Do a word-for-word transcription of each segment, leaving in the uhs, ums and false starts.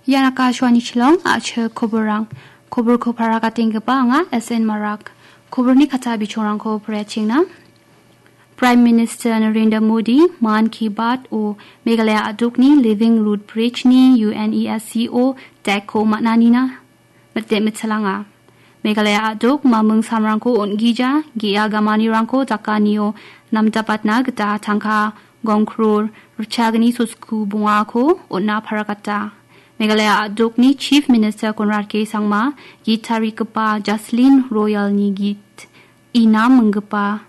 Ian Akashvani Shillong, a·chik koborrang. Koborko paragatenggipa anga S N Marak. Koborni kata bichongrangko poraichengna. Prime Minister Narendra Modi, Mann Ki Baat o Meghalaya a·dokni Living Root Bridge ni UNESCO tag-ko man·anina mite mitchelanga. Meghalaya a·dok maming samrangko on·gija, ge·a gamanirangko dakanio namdapatna gita tangka gongkror ritchagni sosku bongako on·na paragata. Meghalaya a·dokni Chief Minister Conrad K Sangma git tarigipa Jaslin Royal-ni git inam minggipa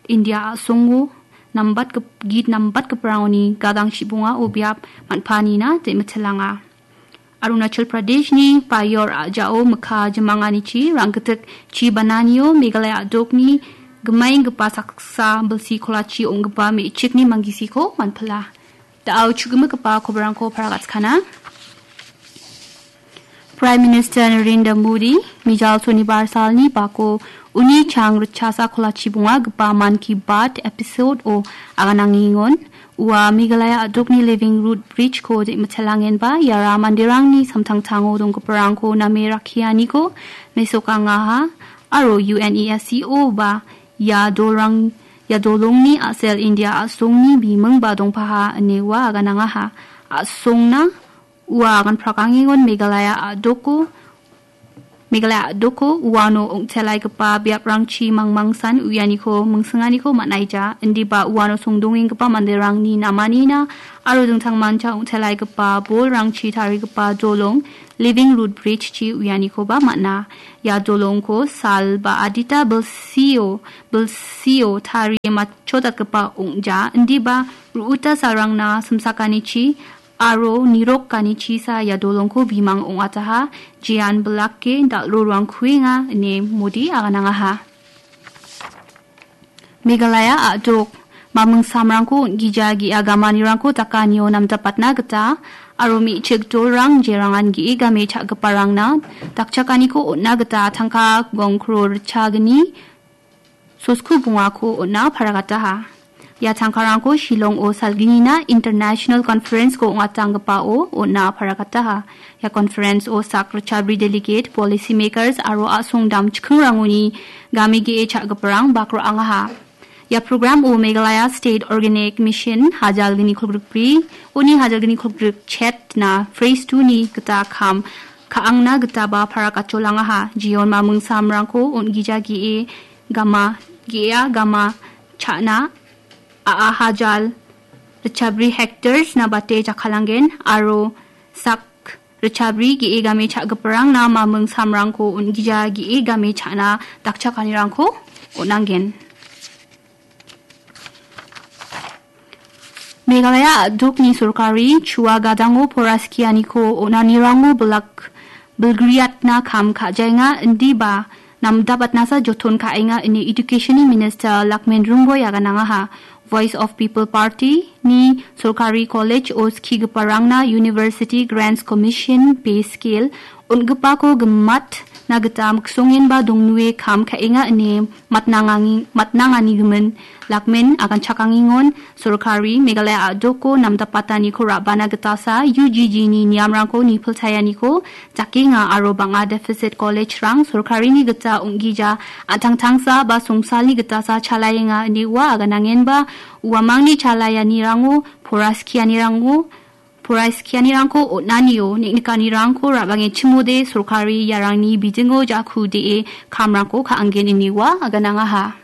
India a·songo nambatgip-, git nambatgiparangoni gadang chibongao biap man·panina de·mitchelanga. Arunachal Pradeshni Payor a·jao mikka jimanganichi ranggitik chi bananio Meghalaya a·dokni gimaenggipa saksa bilsi kolachi ong·gipa me·chikni manggisiko manpila. Da·o chu·gimigipa koborrangko paragatskana. Prime Minister Narendra Modi, mijal Sonibar salni bako uni chang ritchasa kolachi bongagipa Mann Ki Baat episode-o aganangengon. Ua Meghalaya a·dokni Living Root Bridge-ko de·mitchelangenba iara manderangni samtangtango donggiparangko name rakkianiko mesokangaha aro UNESCO ba ia dolrang, ia dolongni a·sel India a·songni bimingba dongpaha ine ua aganangaha. A·songna ua agan prakangengon Meghalaya a·doko, Meghalaya a·doko uano ong·telaigipa biaprangchi mangmangsan uianiko mingsinganiko man·aija. Indiba uano songdongenggipa manderangni namanina aro dingtangmancha ong·telaigipa bolrangchi tarigipa dolong, Living Root Bridge-chi uianikoba man·a. Ia dolongko sal ba adita bilsio, bilsio tarie matchodatgipa ong·ja. Indiba ru·uta salrangna simsakanichi aro nirok ganichisa ia dolongko bimang ong·ataha, jean bilake dal·ro ruangkuenga ine Modi aganangaha. Meghalaya a·dok, maming samrangko on·gija ge·a gamanirangko dakanio namdapatna gita aro me·chik dolrang jerangan ge·e game cha·giparangna dakchakaniko on·na gita tangka gongkro ritchagni sosku bongako on·na paragataha. Ia tangkarangko Shillong-o salgnina International Conference-ko ong·atanggipao on·na paragataha. Ia conference-o sak ritchabri delegate, policy makers aro a·song damchikingrangoni game ge·e cha·giparang bak ra·angaha. Ia program-o Meghalaya State Organic Mission hajalgni kolgrikbri, uni hajalgni kolgrik chetna phase two-ni gita kam ka·angna gitaba parakacholangaha. Jeon maming samrangko on·gija ge·e gama, ge·a gama cha·na a·a hajal ritchabri hectares-na bate jakkalanggen aro sak ritchabri ge·e game cha·giparangna maming samrangko on·gija ge·e game cha·na dakchakanirangko on·angen. Meghalaya a·dokni sorkari chua gadango poraskianiko on·anirango bilak bilgriatna kam ka·jaenga indiba namdabatnasa joton ka·enga ine Education-ni Minister Lakmen Rungboi aganangaha. Voice of People Party-ni sorkari college-o skigiparangna University Grants Commission pay scale on·gipako gimatna gita miksongenba dongnue kam ka·enga ine matnangangi-, matnanganigimin. Lakmen aganchakangengon sorkari Meghalaya a·doko namdapataniko ra·bana gitasa U G G-ni niamrangko nipilchaenganiko dakenga aro bang·a deficit college-rang sorkarini gita ong·gija an·tangtangsa ba songsalni gitasa chalaenga ine ua aganangenba uamangni chalaeanirango poraskianirango poraiskianirangko on·anio neng·nikanirangko ra·bangechimode sorkari iarangni bidingo ja·ku de·e kamrangko ka·angen ine ua aganangaha.